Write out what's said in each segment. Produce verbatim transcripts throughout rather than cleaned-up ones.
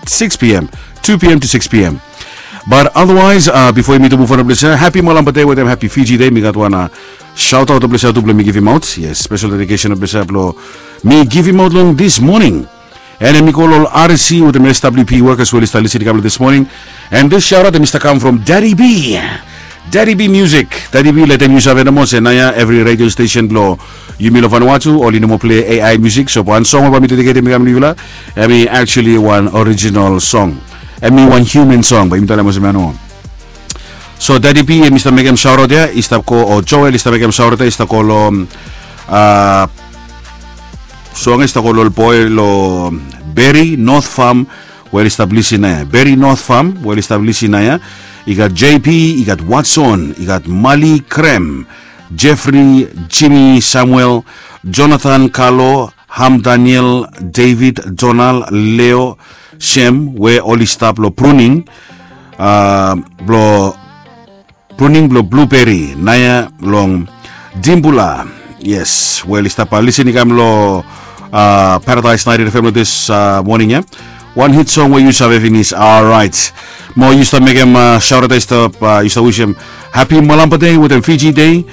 six p.m., two p.m. to six p.m. But otherwise, uh, before mi tu move on, bless you. Happy Malampa Day with them. Happy Fiji Day. Mi gat wan uh, shout out, bless you, tu bless mi give him out. Yes, special dedication, bless you, blo mi give him out long this morning. And mi call all R C with the S W P workers who will start listening this morning. And this shout out, Mister Come from Daddy B. Daddy B Music. Daddy B, let them use of animals. And now, every radio station blo yumi lo Vanuatu, oli no moa play A I music. So wan song we mi dedicate mi kam long yufala, hemi actually wan original song. Hemi wan human song, bae yumi talem olsem ia nomo. So Daddy B, hemi stap mekem shout out ia, i stap go, o Joel, i stap mekem shout out ia, i stap go lo, uh, song i stap go lo boy lo Berry North Farm, we oli stap lisin ia. Berry North Farm, we oli stap lisin ia. I gat J P, i gat Watson, i gat Mali Krem, Jeffrey, Jimmy, Samuel, Jonathan, Carlo, Ham, Daniel, David, Donald, Leo, Shem, we oli stap lo pruning, uh, blo pruning blo blueberry, naia long Dimbula. Yes, we oli stap, uh, lisin i kam lo, uh, Paradise ninety-eight F M lo this, uh, morning ia. Wan hit song we yu save finis. Alright. Mo yu stap mekem, uh, shout out, yu stap, uh, yu stap wisim happy Malampa Day with them Fiji Day.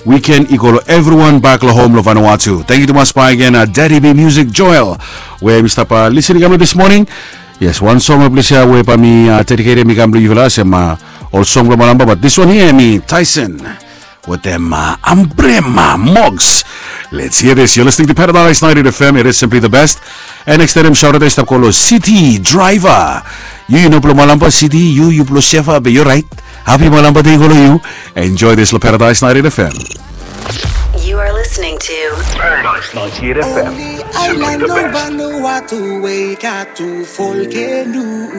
Weekend i go lo everyone back lo home lo Vanuatu. Thank you tumas bae again, uh, Daddy B Music Joel. We mi stap, uh, lisin i kam lo this morning. Yes, wan song lo bless you we bae mi, uh, dedicate mi kam lo yufala olsem, uh, ol song blo Malampa, but this one here, mi Tyson. With them, uh, Ambrema Mogs. Let's hear this. You're listening to Paradise ninety-eight F M. It is simply the best. And next time, shout out, stap go lo City Driver. Yu, yu no blo Malampa City, yu, yu blo Shefa, be yu right. Happy Malampa Day go lo yu. Enjoy this lo Paradise ninety-eight F M. You are listening to Paradise ninety-eight F M. Only island of Vanuatu we got to volcano.